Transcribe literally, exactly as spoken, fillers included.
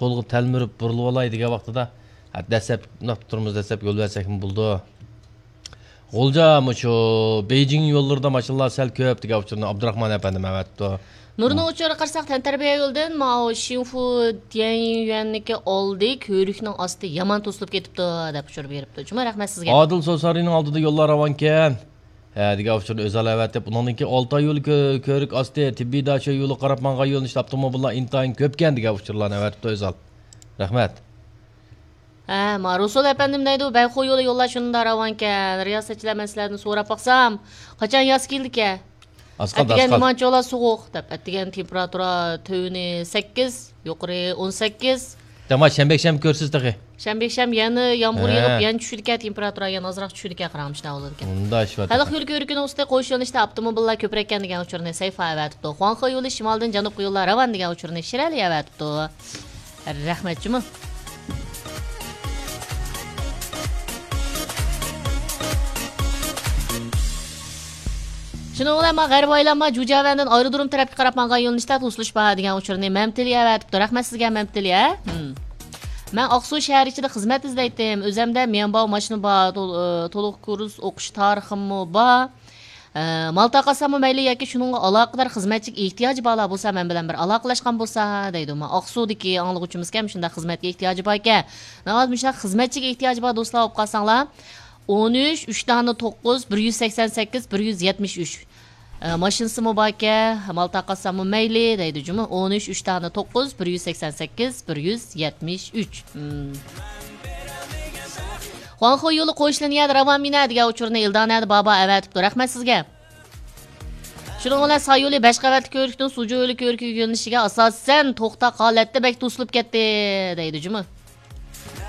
سولغا تەلمۈرۈپ بۇرۇلۇۋالاي دېگەن ۋاقتىدا، ھە، دەسلەپ مۇنداق تۇرىمىز دەسلەپ يول بەرسەكمۇ بولىدۇ. غۇلجا مۇشۇ بېيجىڭ يوللىرىدا ماشىنىلار سەل كۆپ دېگەن ئۇچۇرنى ئابدۇراخمان ئەپەندىم ئەۋەتىپتۇ. نۇرنىڭ ئۇچۇرىغا قارىساق، تەنتەربىيە يولىدىن ماۋۇ شىنفۇ تيەنيۈەننىكى ئالدى كۆۋرۈكنىڭ ئاستى يامان توسۇلۇپ كېتىپتۇ دەپ ئۇچۇر بېرىپتۇ. جۇمۇ، رەھمەت سىزگە. ئادىل سوسارىنىڭ ئالدىدا يوللار راۋانكەن. ھە، دېگەن ئۇچۇرنى ئۆزال ئەۋەتىپ، ئۇنىڭدىن كېيىن ئالتاي يولى كۆ-، كۆۋرۈك ئاستى، تېببىي داشۆ يولىغا قاراپ ماڭغان يۆنىلىشتە ئاپتوموبىللار ئىنتايىن كۆپكەن دېگەن ئۇچۇرلارنى ئەۋەتىپتۇ ئۆزال. رەھمەت. ھە، ما رۇسۇل ئەپەندىم دەيدۇ، بەيخۇ يولى يوللار شۇنداق راۋانكەن. رىياسەتچىلەر مەن سىلەردىن سوراپ باقسام، قاچان ياز كېلىدىكەن؟ ئەتىگەن نېمانچىلا سوغۇق دەپ، ئەتىگەن تېمپېراتۇرا تۆۋىنى سەككىز، يۇقىرى ئون سەككىز. دەماس، شەنبە يەكشەنبە كۆرىسىز تېخى. شەنبە يەكشەنبە يەنە يامغۇر يېغىپ، يەنە چۈشىدىكەن، تېمپېراتۇرا يەنە ئازراق چۈشىدىكەن، قاراڭ، مۇشۇنداق بولىدىكەن. مۇنداق ئىش بار خەلق تېخى. يولى كۆۋرۈكىنىڭ ئۈستى قوش يۆنىلىشتە ئاپتوموبىللار كۆپرەككەن دېگەن ئۇچۇرنى سەيفا ئەۋەتىپتۇ. خۇاڭخې يولى شىمالدىن جەنۇبقا يوللار راۋان دېگەن ئۇچۇرنى شىرەلى ئەۋەتىپتۇ. رەھمەت جۇمۇ. شۇنىڭ بىلەن ما غەربىي ئايلانما جۇجياۋەندىن ئايرودروم تەرەپكە قاراپ ماڭغان يۆنىلىشتە توسۇلۇش بار دېگەن ئۇچۇرنى مەمتىلى ئەۋەتىپتۇ. رەھمەت سىزگە، مەمتىلى، ھە؟ ھىم. مەن ئاقسۇ شەھەر ئىچىدە خىزمەت ئىزدەيتتىم. ئۆزەمدە ميەنباۋ ماشىنا بار، تول-، ئى، تولۇق كۇرس ئوقۇش تارىخىممۇ بار. ئە، مال تارقاتساممۇ مەيلى ياكى شۇنىڭغا ئالاقىدار خىزمەتچىگە ئېھتىياجى بارلار بولسا مەن بىلەن بىر ئالاقىلەشقان بولسا دەيدۇ. ما ئاقسۇدىكى ئاڭلىغۇچىمىزكەن، مۇشۇنداق خىزمەتكە ئېھتىياجى باركەن. ناۋادا مۇشۇنداق خىزمەتچىگە ئېھتىياجى بار دوستلار بولۇپ قالساڭلار، ئون ئۈچ، ئۈچ دانە توققۇز، بىر يۈز سەكسەن سەككىز، بىر يۈز يەتمىش ئۈچ. ئە، ماشىنىسىمۇ باركەن، مال تارقاتساممۇ مەيلى دەيدۇ جۇمۇ. ئون ئۈچ، ئۈچ دانە توققۇز، بىر يۈز سەكسەن سەككىز، بىر يۈز يەتمىش ئۈچ. مم. خۇاڭخې يولى قوشۇلىنى يەردە راۋان مىنە دېگەن ئۇچۇرنى ئىلدانەدە بابا ئەۋەتىپتۇ. رەھمەت سىزگە. شۇنىڭ بىلەن ساي يولى بەش قەۋەتلىك كۆۋرۈكتىن سۇجۇ يولى كۆۋرۈكىگە يۆنىلىشىگە ئاساسەن توختاق ھالەتتە بەك توسۇلۇپ كەتتى دەيدۇ جۇمۇ.